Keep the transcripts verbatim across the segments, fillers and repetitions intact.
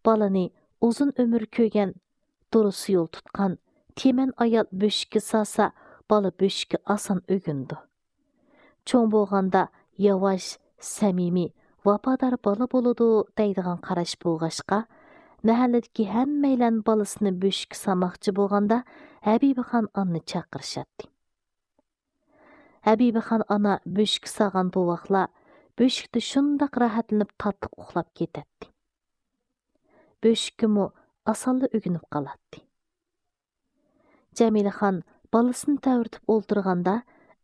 بالىنى ئۇزۇن ئۆمۈر كۆرگەن، دۇرۇس يول تۇتقان، تېمەن ئايال بۆشۈككە سالسا، بالا بۆشۈككە ئاسان ئۆگىنىدۇ. چوڭ بولغاندا ياۋاش، سەمىمىي، ۋاپادار بالا بولىدۇ دەيدىغان قاراش بولغاچقا، مەھەللىدىكى ھەممەيلەن بالىسىنى بۆشۈككە سالماقچى بولغاندا، ھەبىبىخان ئانىنى چاقىرىشاتتى. ھەبىبىخان ئانا بۆشۈككە سالغان بوۋاقلار بۆشۈكتە شۇنداق راھەتلىنىپ تاتلىق ئۇخلاپ كېتەتتى. بۆشۈككىمۇ ئاسانلا ئۆگىنىپ قالاتتى. جەمىلىخان بالىسىنى تەۋرىتىپ ئولتۇرغاندا،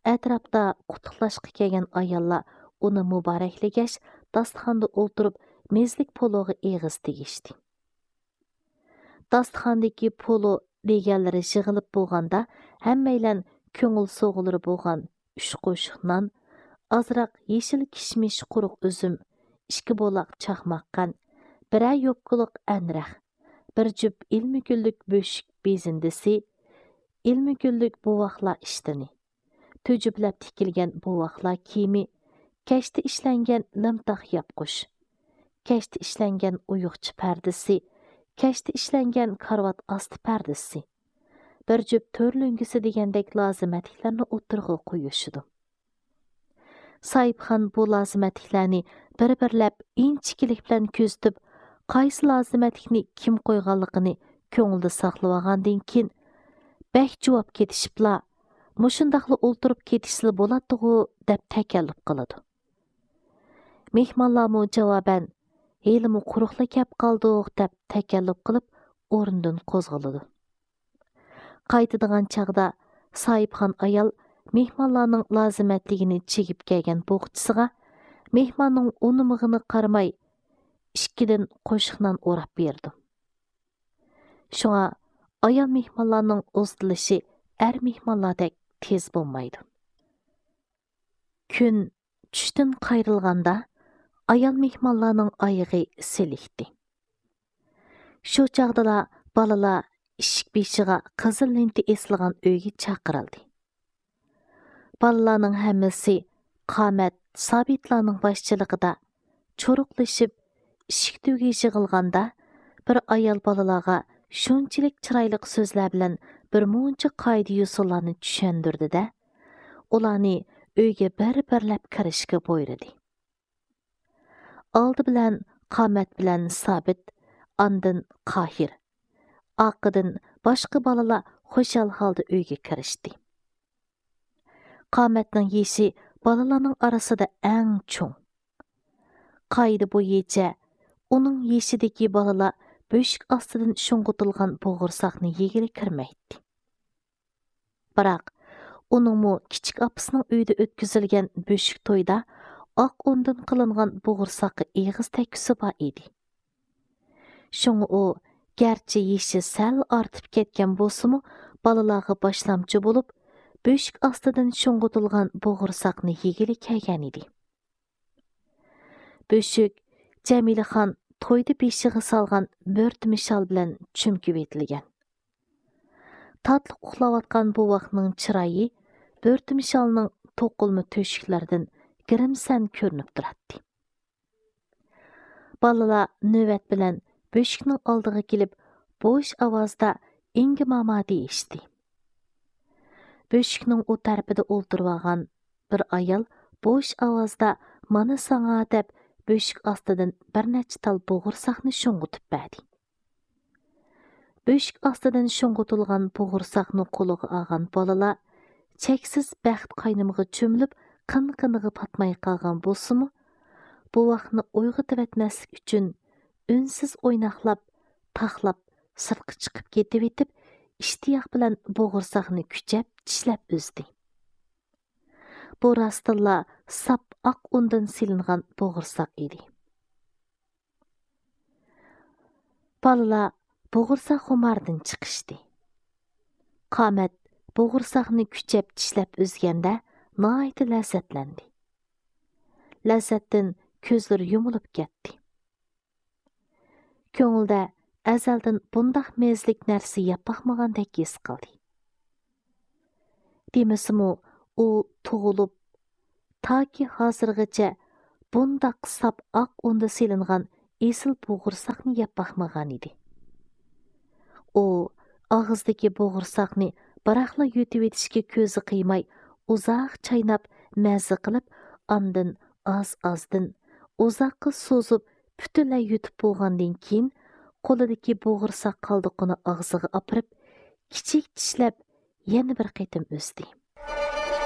ئەتراپتا قۇتلۇقلاشقا كەلگەن ئاياللار ئۇنى مۇبارەكلىگەچ، داستىخاندا ئولتۇرۇپ مېزلىك پولۇغا ئېغىز تېگىشتى. داستىخاندىكى پولۇ دېگەنلىرى يىغىلىپ بولغاندا، ھەممەيلەن كۆڭۈل سوغۇلىرى بولغان ئۈچ قوشۇق نان، ئازراق يېشىل كىشمىش، قۇرۇق ئۈزۈم، ئىككى بولاق چاقماق قەنت، بىرەر يوپكىلىق ئەنرەخ، بىر جۈپ ئىلمىگۈللۈك بۆشۈك بېزىندىسى، ئىلمىگۈللۈك بوۋاقلار ئىشتىنى، تۈجۈپلەپ تىكىلگەن بوۋاقلار كىيىمى، كەشتە ئىشلەنگەن لىمتاق ياپقۇچ، كەشتە ئىشلەنگەن ئويۇقچە پەردىسى، كەشتە ئىشلەنگەن كارىۋات ئاستى پەردىسى، بىر جۈپ تۆر لۆڭگىسى دېگەندەك لازىمەتلىكلەرنى ئوتتۇرىغا قويۇشىدۇ. ساھىبخان بۇ لازىمەتلىكلەرنى بىر-بىرلەپ ئىنچىكىلىك بىلەن كۆزىتىپ، قايسى لازىمەتلىكنى كىم قويغانلىقىنى كۆڭلىدە ساقلىۋالغاندىن كېيىن، بەك جۇۋاپ كېتىشىپلا، مۇشۇنداقلا ئولتۇرۇپ كېتىشسىلا بولاتتىغۇ دەپ تەكەللۇپ قىلىدۇ. مېھمانلارمۇ جاۋابەن، ھېلىمۇ قۇرۇقلا كەپ قالدۇق دەپ تەكەللۇپ قىلىپ، ئورنىدىن قوزغىلىدۇ. قايتىدىغان چاغدا ساھىبخان ئايال مېھمانلارنىڭ لازىمەتلىكىنى چىگىپ كەلگەن بوغچىسىغا، مېھماننىڭ ئۇنىمىغىنى قارىماي، ئىككىدىن قوشۇق نان ئوراپ بېرىدۇ. شۇڭا ئايال مېھمانلارنىڭ ئۇزىتىلىشى ئەر مېھمانلاردەك تېز بولمايدۇ. كۈن چۈشتىن قايرىلغاندا، ئايال مېھمانلارنىڭ ئايىغى سېلىكتى. شۇ چاغدىلا بالىلار ئىشىك بېشىغا قىزىل لېنتا ئېسىلغان ئۆيگە چاقىرىلدى. بالىلارنىڭ ھەممىسى قامەت، سابىتلارنىڭ باشچىلىقىدا چۇرۇقلىشىپ، ئىشىك تۈۋىگە يىغىلغاندا، بىر ئايال بالىلارغا شۇنچىلىك چىرايلىق سۆزلەر بىلەن بىر مۇنچە قائىدە-يوسۇنلارنى چۈشەندۈردى-دە، ئۇلارنى ئۆيگە بىر-بىرلەپ كىرىشكە بۇيرۇدى. ئالدى بىلەن قامەت بىلەن سابىت، ئاندىن قاھىر، ئارقىدىن باشقا بالىلار خۇشال ھالدا ئۆيگە كىرىشتى. قامەتنىڭ يېشى بالىلارنىڭ ئارىسىدا ئەڭ چوڭ. قائىدە بويىچە، ئۇنىڭ يېشىدىكى بالىلار بۆشۈك ئاستىدىن شۇڭغۇتۇلغان بوغۇرساقنى يېگىلى كىرمەيتتى. بىراق، ئۇنىڭمۇ كىچىك ئاپىسىنىڭ ئۆيىدە ئۆتكۈزۈلگەن بۆشۈك تويدا ئاق ئۇندىن قىلىنغان بوغۇرساققا ئېغىز تەگكۈسى بار ئىدى. شۇڭا ئۇ، گەرچە يېشى سەل ئارتىپ كەتكەن بولسىمۇ، بالىلارغا باشلامچى بولۇپ، بۆشۈك ئاستىدىن شۇڭغۇتۇلغان بوغۇرساقنى يېگىلى كەلگەنىدى. بۆشۈك جەمىلىخان تويدا بېشىغا سالغان بۆرتىمە شال بىلەن چۈمكۈۋېتىلگەن. تاتلىق ئۇخلاۋاتقان بوۋاقنىڭ چىرايى بۆرتىمە شالنىڭ توقۇلما تۆشۈكلىرىدىن گىرىمسەن كۆرۈنۈپ تۇراتتى. بالىلار نۆۋەت بىلەن بۆشۈكنىڭ ئالدىغا كېلىپ، بوش ئاۋازدا «ئىڭگە ماما» دېيىشتى. بۆشۈكنىڭ ئۇ تەرىپىدە ئولتۇرۇۋالغان بىر ئايال بوش ئاۋازدا «مانا ساڭا» دەپ، بۆشۈك ئاستىدىن بىر نەچچە تال بوغۇرساقنى شۇڭغۇتۇپ بەردى. بۆشۈك ئاستىدىن شۇڭغۇتۇلغان بوغۇرساقنى قولىغا ئالغان بالىلار چەكسىز بەخت قاينىمىغا چۆمۈلۈپ، قىن-قىنىغا پاتماي قالغان بولسىمۇ، بوۋاقنى ئويغىتىۋەتمەسلىك ئۈچۈن ئۈنسىز ئويناقلاپ، تاقلاپ، سىرتقا چىقىپ كېتىۋېتىپ، ئىشتىياق بىلەن بوغۇرساقنى كۈچەپ چىشلەپ ئۈزدى. بۇ راستتىنلا ساپ ئاق ئۇندىن سېلىنغان بوغۇرساق ئىدى. بالىلار بوغۇرساق خۇماردىن چىقىشتى. قامەت بوغۇرساقنى كۈچەپ چىشلەپ ئۈزگەندە ناھايىتى لەززەتلەندى. لەززەتتىن كۆزلىرى يۇمۇلۇپ كەتتى. كۆڭلىدە ئەزەلدىن بۇنداق مەززىلىك نەرسە يەپ باقمىغاندەك ھېس قىلدى. دېمىسىمۇ، ئۇ تۇغۇلۇپ، تاكى ھازىرغىچە بۇنداق ساپ ئاق ئۇندا سېلىنغان ئېسىل بوغۇرساقنى يەپ باقمىغانىدى. ئۇ ئاغزىدىكى بوغۇرساقنى بىراقلا يۇتۇۋېتىشكە كۆزى قىيماي، ئۇزاق چايناپ، مەززە قىلىپ، ئاندىن ئاز-ئازدىن، ئۇزاققا سوزۇپ، پۈتۈنلەي يۇتۇپ بولغاندىن كېيىن، قولىدىكى بوغۇرساق قالدۇقىنى ئاغزىغا ئاپىرىپ، كىچىك چىشلەپ، يەنە بىر قېتىم ئۈزدى.